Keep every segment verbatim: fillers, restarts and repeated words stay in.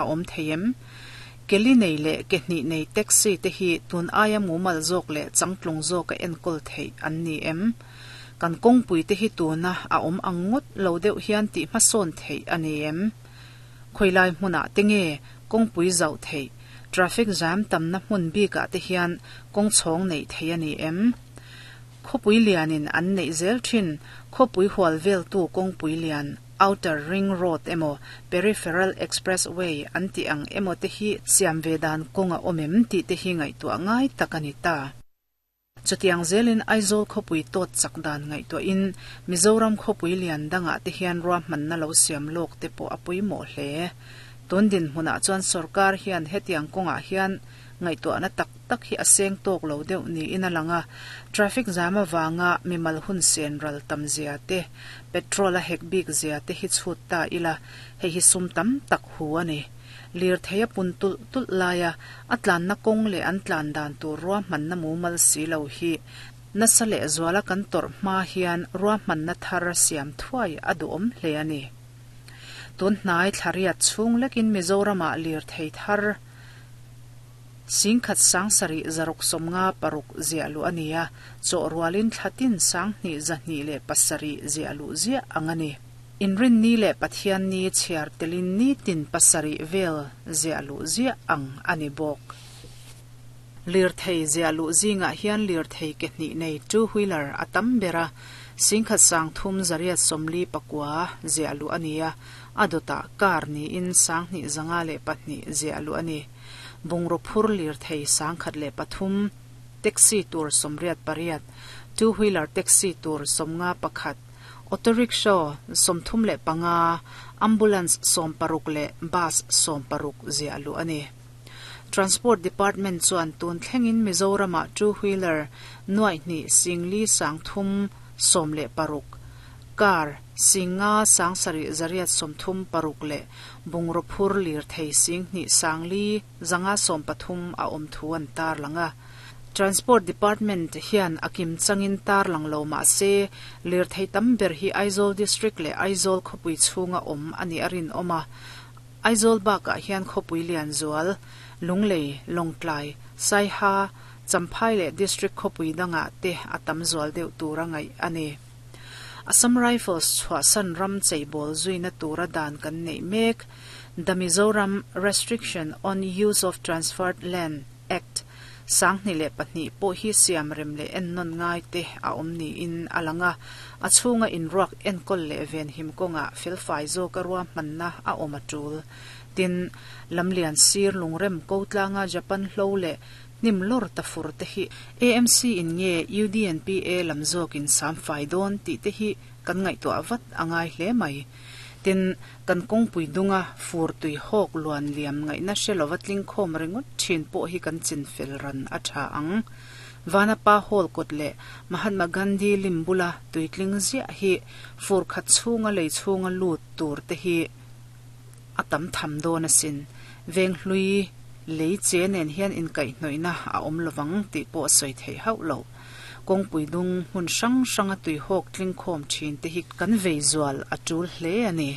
A awm thei em? Ke li nei leh ke hnih nei taxi te hi tun aia mumal zawk leh changtlung zawka enkawl theih an ni em? Kan kawngpui te hi tuna a awm ang ngawt lo deuh hian tih hmasawn theih a ni em? Khawilai hmunah te nge kawngpui zauh theih, traffic jam tamna hmun bikah te hian kawng chhawng neih theih a ni em? Khawpui lianin an neih zel thin khawpui hual veltu kawngpui lian Outer Ring Road emaw Peripheral Expressway an tih ang emaw te hi siam ve dan kawng a awm em tih te hi ngaihtuah ngai tak a ni ta. Chutiang zelin Aizawl khawpui tawt chak dan ngaihtuahin Mizoram khawpui lian dangah te hian ruahmanna lo siam lawk te pawh a pawimawh hle. Tun dinhmunah chuan sorkar hian hetiang kawngah hian ngaihtuahna tak tak hi a seng tawk lo deuh niin a lang a, traffic jam avanga mimal hun sen ral tam zia te, petrol a hek bik zia te hi chhut ta ila, hei hi sum tam tak hu a ni. Lirthei a pun tulh tulh laia a tlanna kawng leh an tlan dan tur ruahmanna mumal si lo hi nasa leh zuala kan tawrh hma hian ruahmanna thar siam thuai a duhawm hle a ni. Tun hnai thlariat chhung lekin Mizoramah lirthei thar singkhat sang sarih zaruk sawmnga paruk ziah luh a ni a, chawh rualin thlatin sanghnih zahnih leh pasarih ziah luh ziah ang a ni. Inrinni leh Pathianni chhiar telin nitin pasarih vel ziah luh ziah ang a ni bawk. Lirthei ziah luh zingah hian lirthei ke hnih nei two wheeler a tam ber a, singkhat sang thum zariat sawmli pakua ziah luh a ni a, a dawtah car niin sanghnih zanga leh pahnih ziah luh a ni. Bungraw phur lirthei sangkhat leh pathum, taxi tur sawmriat pariat, two wheeler taxi tur sawmnga pakhat, auto rickshaw sawmthum leh panga, ambulance sawm paruk leh bus sawm paruk ziah luh a ni. Transport Department chuan tun thlengin Mizoramah two wheeler nuaihnih singli sangthum sawm leh paruk, car singa sangsarih zariat sawmthum paruk leh bungraw phur lirthei singhnih sangli zanga sawm pathum a awm thu an tar lang a. Transport Department hian a kim changin tar lang lo mah se lirthei tam ber hi Aizawl District leh Aizawl khawpui chhunga awm a ni a rinawm a. Aizawl bakah hian khawpui lian zual, Lunglei, Lawngtlai, Saiha, Champhai leh District khawpui dangah te a tam zual deuh tur a ngaih a ni. Assam Rifles chhuahsan ram cheibawl zuina tura dan kan neih mek, The Mizoram Restriction on Use of Transferred Land Act sanghnih leh pahnih pawh hi siam rem leh ennawn ngai te a awm niin a lang a, a chhunga inruak enkawl leh venhim kawngah felfai zawka ruahmanna a awm a tul. Tin, lamlian sir lungrem ko tlanga Japan hlo leh hnim lawr ta fur te hi A M C in nge U D N P A lam zawkin sam fai dawn tih te hi kan ngaihtuah vat a ngai hle mai. Tin, kan kawngpui dunga fur tui hawk luan liam ngaihna hre lova tling khawm ringawt thin pawh hi kan chin fel ran a tha ang. Vanapa Hall kawt leh Mahatma Gandhi lim bula tuitling ziah hi fur khat chhunga lei chhunga lut tur te hi a tam tham dawn asin. Veng hlui lei che nen hian inkaihhnawihna a awm lovang tih pawh a sawi theih hauh lo. Kawngpui dung hmun hrang hranga tui hawk tling khawm thin te hi kan vei zual a tul hle a ni.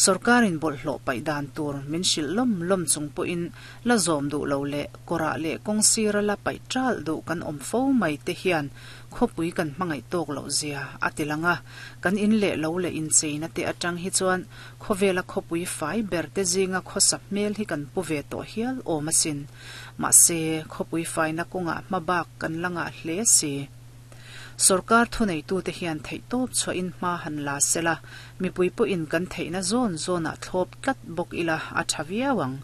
Sorkarin bawlhhlawh paih dan tur min hrilh lawm lawm chung pawhin la zawm duh lo leh kawrah leh kawng sira la paih tal duh kan awm fo mai te hian khawpui kan hmangaih tawk loh zia a ti lang a, kan in leh lo leh incheina te atang hi chuan khawvela khawpui fai ber te zinga khawsa hmel hi kan pu ve tawh hial awm asin. Mahse, khawpui faina kawngah hmabak kan la ngah hle si. Sorkar thuneitu te hian theih tawp chhuahin hma han la sela, mipui pawhin kan theihna zawn zawnah thlawp tlat bawk ila a tha viau ang.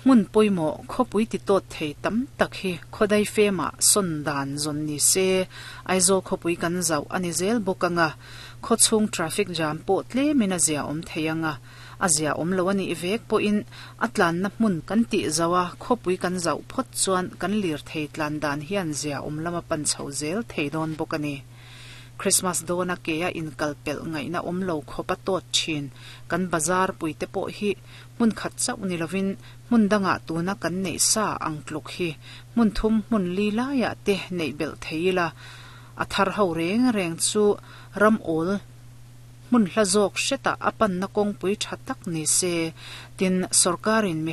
Hmun pawimawh khawpui ti tawt thei tam tak hi khawdai femah sawn dan zawn ni se, Aizawl khawpui kan zauh a ni zel bawk anga, khawchhung traffic jam pawh tlemin a zia awm thei anga, a zia awm lo a nih vek pawhin a tlanna hmun kan tih zauh a, khawpui kan zauh phawt chuan kan lirthei tlan dan hian zia awm lama pan chho zel thei dawn bawk a ni. Christmas dawna ke a inkal pelh ngaihna awm lo khawp a tawt thin kan bazar pui te pawh hi hmun khat chauh ni lovin hmun dangah tuna kan neih sa ang tluk hi hmun thum hmun li laiah te neih belh thei ila, a thar ho reng reng chu ram awl Hmun hla zawk hretah a panna kawngpui tha tak ni se. Tin, sorkarin mi